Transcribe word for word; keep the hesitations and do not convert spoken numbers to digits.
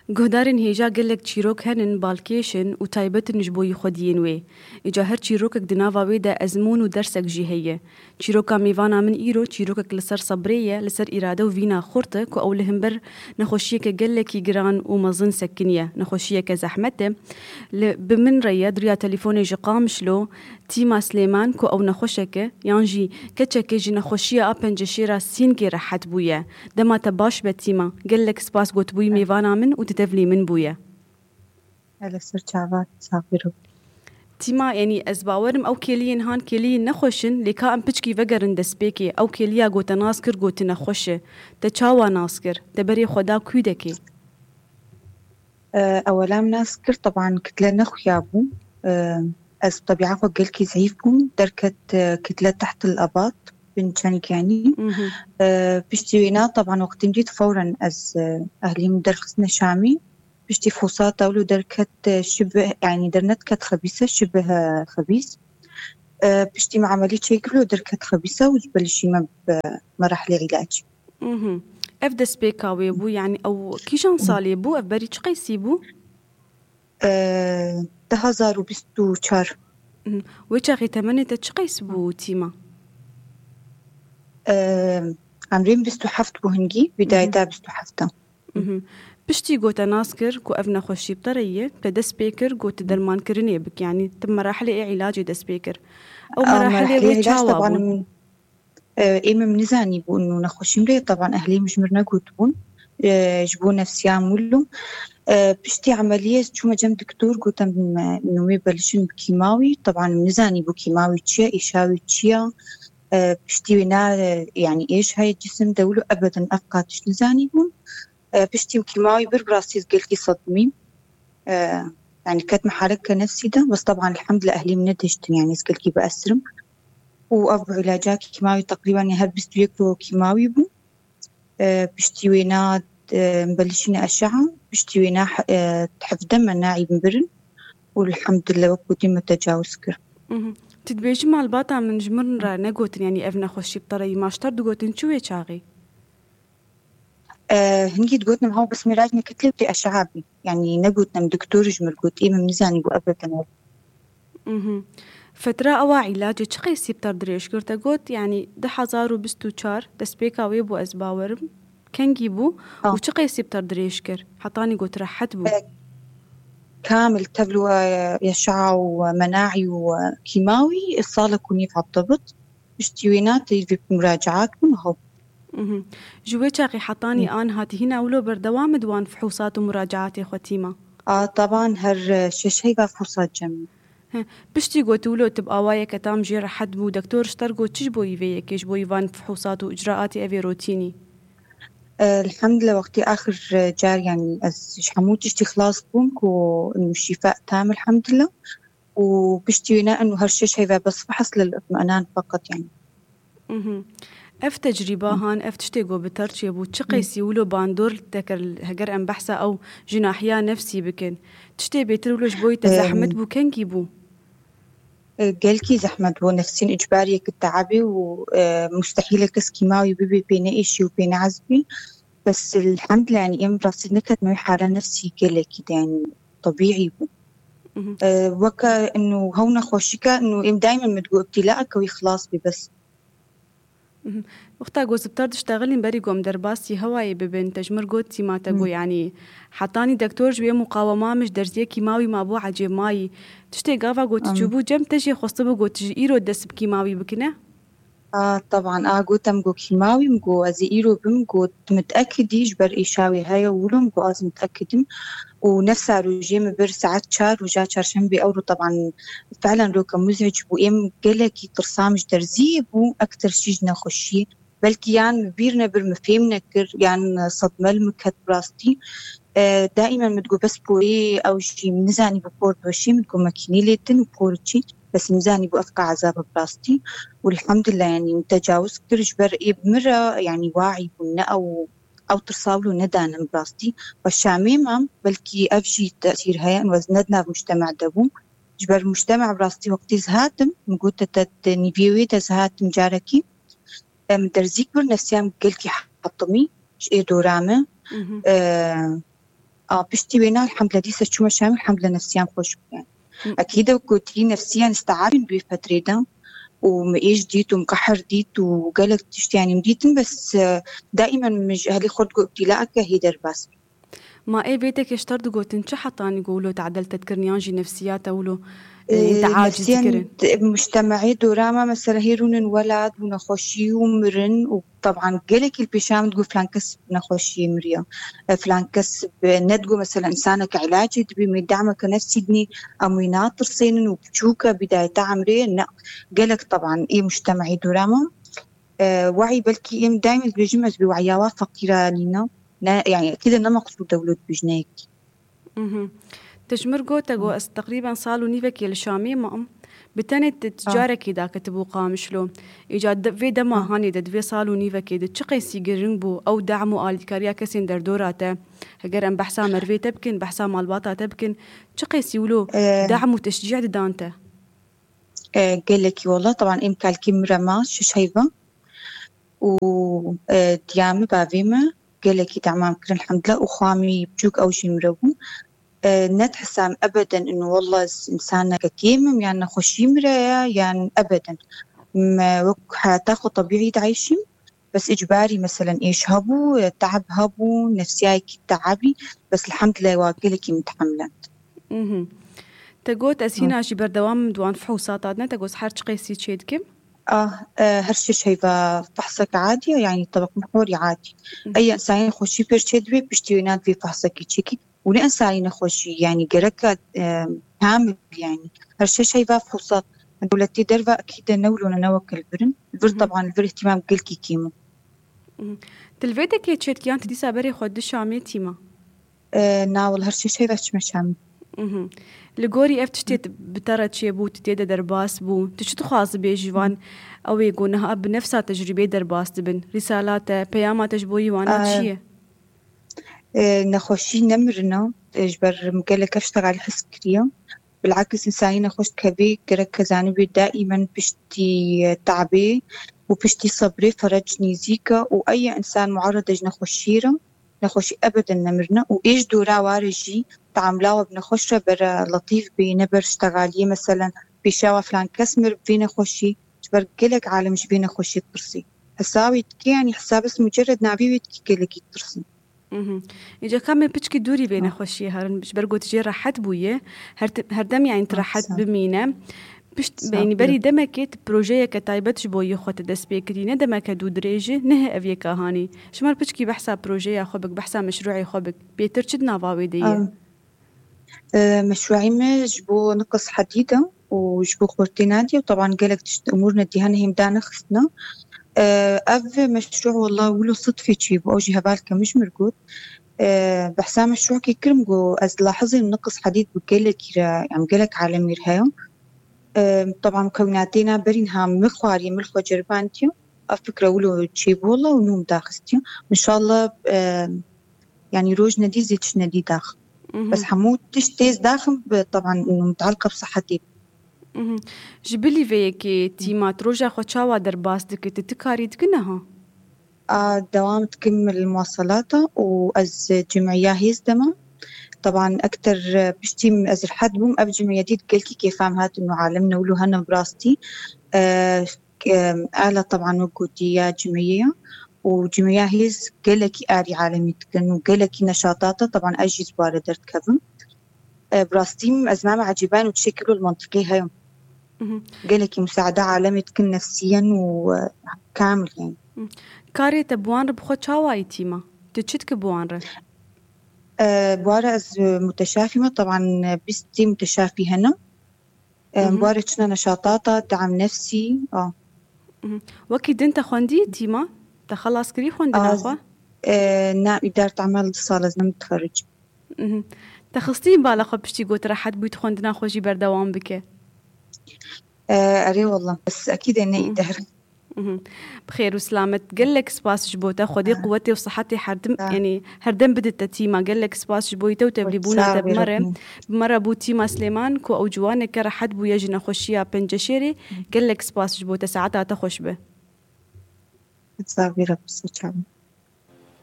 Guhdarên hêja gelek çîrok henin, balkêş in û taybet in ji bo yî xwediyên wê. Îca her çîrokek di nava wê de ezmûn û dersek jî heye. Çîroka mêvana min îro çîrokek li ser sebrê ye, li ser îrade û vîna xurt e ku ew li himber nexweşiyeke gelekî giran û mezin sekiniye. Nexweşiyeke zehmet e. Li, bi min re ye, di riya telefonê ji Qamişlo, Tîma Silêman ku ew nexweşek e, yan jî keçekê ji nexweşiya a penceşêra sîngê rehet bûye. Dema te baş be Tîma. Gelek spas gotibûyî mêvana min û di tevlî min bûye. Hele ser çavan, sax biro. Tîma, yanî ez bawerim ew kêliyên han kêliyên nexweş in, lê ka em piçkî vegerin destpêkê. Ew kêliya ku te nas kir, got tu nexweş e. Te çawa nas kir? Te berê xwe da kûdekê? Ewela min nas kir, teban kitle nexuya bû. Ez bi tebiya xwe gelkî zehîf bûm. Derket, e, kitle teht el abat, bin çenik yanî. Mhm. E, piştî wêna, teban wextî min dît, fewren ez, e, ehlî min derxistine Şamî. Piştî fosata wilo derket, e, şibih, yanî dernetket xebîse, şibih, e, xebîs. E, piştî me emelî çêkir, wilo derket xebîse û ji belişî me bi merahlê îlaç. Mhm. Ev destpêka wê bû, yanî ew kîjan salê bû? Ev berî çi qeysî bû? E, du hazar û bîst û çar. Mhm. Wê çaxê temenê te çi qeys bû, Tîma? E, emrê min bîst û heft bû hingî, bidayeta bîst û heft e. Mhm. Piştî got te nas kir ku ev nexweşî bi te re ye, te dest pê kir, got tu dermankirinê bik, yanî tu merahilê ê îlacê dest pê kir. Ew A, merahilê merahilê wê îlaç çawa teban bûn? Min, e, ê min nizanî bûn û nexweşî min rê, teban ehlê min ji mir negotibûn, e, ji bo nefsiya min wilo. E, piştî emeliyê ez çûme cem doktor, gotem, e, nûmê belişin bi kîmawî. Teban min nizanî bû kîmawî çi ye, êşawî çi ye. E, piştî wê na, e, yanî êş heye cisim de wilo ebeden ev qat tişt nizanî bûn. E, piştî min kîmawî bir, bi rastî ez gelkî sedimîm. E, yanî ketme haleke nefsî de, bes teban elhamdülillah ehlî min nedihiştin, yanî ez gelkî bi esirim. Û ev bi îlaca kîmawî teqrîben her bîst û yek roj kîmawî bû. E, piştî wêna, e, belişîne eşeha, piştî wêna, e, hevde me naî min birin. Û elhamdülillah wek gotî me tecawuz kir. Mhm. Tu dibêjî malbata min ji min re negotin, yanî ev nexweşî bi te re yî, maşter digotin çi wê çaxê? E, hingî digotin, ha, bes mêrac nekitlê tê eşeha bî. Yanî negotin em doktor ji mir got, ê min nizanî bû ebeden. Mhm. Fetra ewa îlacê çi qeysî bi te dirêj kir? Te got, yanî du hazar û bîst û çar destpêka wê bû, ez bawerim. Kengî bû Ha. û çi qeysî bi te dirêj kir? Hetanî got rehet bû. E, kamil tevlu, e, eşeha û menaî û, e, kîmawî, e, salek û nîv hebte bit. Piştî wêna teyvî muracaat bûn, ho. Mhm. Ji wê çaxê hetanî Hı. an hatî hîna wilo berdewam e di wan fihûsat û muracaatê xwe Tîma? A, teban her, e, şeş heyva fihûsat cem. He. Piştî got wilo tu bi awayeke tam jê rehet bû, doktor ji te re got çi ji bo yî vê yekê, ji bo yî van fihûsat û icraatê evê rotînî? E, elhamdülillah wextî axir, e, car, yanî ez ji hemû tiştî xilas bûm ku şîfa tam elhamdülillah. û piştî wê ne û her şeş heyve bes fehs lil itminan feqet, yanî. Mhm. Ev tecrîba han, ev tiştê ku bi te re çêbû, çi qeysî wilo bandor li te kir, heger em behsa ew ji nahiya nefsî bikin? Tiştê bêtir wilo ji bo te Em, zehmet bû, kengî bû? E, gelkî zehmet bû, nefsîn icbariyek teabî û, e, mustehîl e kes kîmawî bibê pê neêşî û pê neezbî. Bes elhamdülillah, yanî em rastî neketime wî hala nefsî gelekî de, yanî tebîî bû. Mhm. E, weke inu hew nexweşîke, inu em daîmen min digot, îbtîlaeke wî xilas bî bes. Mhm. Wexta ku zibtar diştexilîn berî ku em derbasî hewayê bibin, te ji mir got, Tîma, te got, yanî hetanî doktor ji wê muqawema min ji derziyê kîmawî mabû ecêb mayî. Tiştê gava ku tu çûbû cem te jê xwestibû ku tu ji îro dest bi kîmawî bikine? A, teban, a, gotem ku kîmawî, min got ez ê îro bim, got miteekidî ji ber êşawê heye wilo, min got ez miteekid im. Û nefsa rojê min bir saet çar, roja çarşembê, ewro teban fiilen roke muzîc bû. Êm gelekî tirsam ji derziyê bû, ektir jî ji nexweşiyê. Belkî yan min bîr nebir, min fêm nekir, yan sedme li min ket bi rastî. E, daîmen min digot bes porê, ew jî min nizanî bû por diweşî, min digot mekînê lê din û por çî. Bes min zanî bû ev qe ezab e bi rastî. Û elhamdülillah, yanî min tecawuz kir ji ber ê bi min re, yanî waî bûn, ne ew, ew tirsa wilo nedanin bi rastî. Xwe Şamê mam, belkî ev jî tesîr heye, û ez ne di nav mujtema de bûm. Ji ber mujtema bi rastî wextî ez hatim, min got te, te di nîviyê wê de ez hatim carekî. Em derzîk bir, nefsiya min gelkî hetimî ji ê dora me. Mhm. E, A, piştî wêna elhamdulillah dîsa çûme Şamê, elhamdulillah nefsiyan xweş bû yani. Hı. Ekîd e, gotî nefsiyan isteabîn bi vê fetrê de û min êş dît û min qehr dît û gelek tişt yani min dîtin, bes, e, daîmen min ji ehlê xwe digot îbtîlaeke hê derbas. Ma ê vê tekê ji te digotin çi hetanî ku wilo tedel te dikirin yan jî nefsiya te wilo, e, Ee, te aciz nefsiyen dikirin? Mujtemeyê dora me mesela hê rûnin welat û nexweşî û mirin û taban gelekî li pêşa min digot filan kes bi nexweşiyê miriye. E, filan kes bi, ne digot mesela insaneke ilacê dibî, mê demeke nefsî dinî, em wî natirsênin û biçûke bidayeta emrê, ne. Gelek taban ê mujtemeyê dora me. E, wehî belkî em daîm dibêjim ez bi wehiya wa feqîra nîne. Ne, yani, ekîde ne meqsûd e wilo dibêjne yekî. Mhm. Te ji mir got, te got, ez teqrîben sal û nîvekê li Şamê mam. Bi tenê tu Ah. carekê daketibû Qamişlo. Îca de, vê dema Ah. hanê de, di vê sal û nîvekê de çi qeysî giring bû ew dem û alîkariya kesên derdora te? Heger em behsa merivê te bikin, behsa malbata te bikin, çi qeysî wilo Eh. dem û teşcî didan te? Eh, gelekî wela, taban êm kalkî min re ma şeş heyva û, eh, diya min, bavê min gelekî demam kirin, elhamdulillah, û xwamî biçûk ew jî mire bû. Eh, net hesam ebeden inu wela ez insaneke kêm im, yan nexweşî mire ye, yan ebeden. Me wek heyata xwe tebîî dayîşîm, bes icbarî, meselen, êş hebû, eh, teeb hebû, nefsiyayekî teebî, bes elhamdulillah wa gelekî min tehemilend. Mhm. Te got, ez hîna jî berdewam im di wan fihûsata de, te got, her çi qeysî çê dikim? Ah, eh, her şeş heyva fehsek adî ye, yani tebaq mihwarî adî. Mhm. Ey insanê nexweşî pêr çê dibe, piştî wê nat vê fehsekî çêkî. Û ne insanê nexweşî, yani gereka, eh, kamil, yani. Her şeş heyva fihûsat. Dewletê derve ekîde ne wilo ne, ne weke li vir in. Li vir Mhm. taban li vir îhtîmam gelkî kêm in. Mhm. Tu li vê dekê çê dikiyan, tu dîsa berê xwe di Şamê tîma? E, na, wela her şeş heyva çime Şamê. Mhm. Li gorî ev tiştê tu, bi te re çêbû, tu tê de derbas bû, tu çi dixwazî bêjî van, ew ê ku niha bi nefsa tecrûbê derbas dibin? Rîsala te, peyama te ji bo yî wana E, çi ye? E, nexweşî nemirina, e, ji ber min gelek ev ştegalî hez kiriye. Bilakis, insanî nexweş dikevê, gerek ke zanibê daîmen piştî, e, tabê û piştî sebrê ferec nêzîk e û ey insan muarede ji nexweşiyê re, nexweşî ebeden nemirine û ê ji dora ware jî teamula we bi nexweş re bere letîf bê, ne ber ştegaliyê, meselen, pêşa we filan kes mir bi vê nexweşî, ji ber gelek alem ji vê nexweşî dipirsî. Hesabê dike, yanî hesabes mucerred navê wê dikî gelekî ditirsî. Mhm. Îca ka me piçkî dûrî vê Ah. nexweşiyê herin, ji ber ku tu jê rehet bûye, her ti-, her dem, yani, tu Ah, rehet sağ ol. bimîne. Pişt, Sağ ol. yani, berî demekê tu projeyeke taybet ji bo yê xwe te dest pê kirî, ne demeke dû dirêj e, ne ev yeka hanî. Ji me re piçkî behsa projeya xwe bik, behsa meşrûê xwe bik. Bêtir çi di nava wê de ye? Am, e, meşrûê me ji bo niqis hedîd e û ji bo xurtê nadî û teban gelek tişt, umûr nedî hene hêm danexistine. E, ev meşrû wela wilo sidfê çêbû, ew jî hevalke min ji mir got. E, behsa meşrûkê kirim, got, ez dilahizim niqis hedîd bi gelekî re, em gelek alemî re heye. E, teban mukewinatê na berî niha min xwarî, min xwe ceribandiye. Ev fikre wilo çêbû wela û nû min daxistiye. Înşallah, e, yanî roj nedî zî tişt nedî dax. Mhm. Bes hemû tişt têz daxim bi, teban, mutaliqa bi sihetê. Mhm. Ji bilî vê yekê tîma tu roja xwe çawa derbas dike? Tu, tu karî dike niha? A, dewam dikim li muwaselata û ez cimiya hêz de me. Teban ekter, e, piştî ez rehet bûm, ev cimiya dît gelkî kêfa min hat û alem ne wilo hene bi rastî. E, e, ala teban wek gotî ya cimiyê ya û cimiya hêz gelekî arî alemî dikin û gelekî neşatata, teban ez jî ji ware derdikevim. E, bi rastî ez me ecîban û çi şekil û li mentiqê heye. Mhm. Gelekî musaade alemê dikin nefsiyen û, e, kamil yani. Mhm. Karê te bi wan re bi xwe çawa yî tîma? Tu çi dike bi wan re? E, bi wan re ez, e, muteşafî me. Teban, e, bîstî muteşafî hene. E, Mhm. bi wan re çine neşatata, deam nefsî. A. Mhm. Wekî din te xwendî tîma? Te xelas kirî xwendina Az, xwe? E, na, îdare emel du sal ez ne mutexerric. Mhm. Te xistî bala xwe piştî got rehet bûyî, tu xwendina xwe jî berdewam bike? E, erê wallah, bes ekîd e ne Mhm. îder. Mhm. Bi xêr û silamet. Gelek spas ji bo te. Xwedê Ah. quwetê û sihetê herdim, Ah. yanî herdem bide te tîma. Gelek spas ji bo te û tevlîbûna Sağ te bi me re. Bi me re bû tîma Silêman, ku ew ciwaneke rehet bûye ji nexweşiya penceşêrê. Gelek spas ji bo te. Saeta te xweş be. Sağ ol, Rabbi, sağ ol.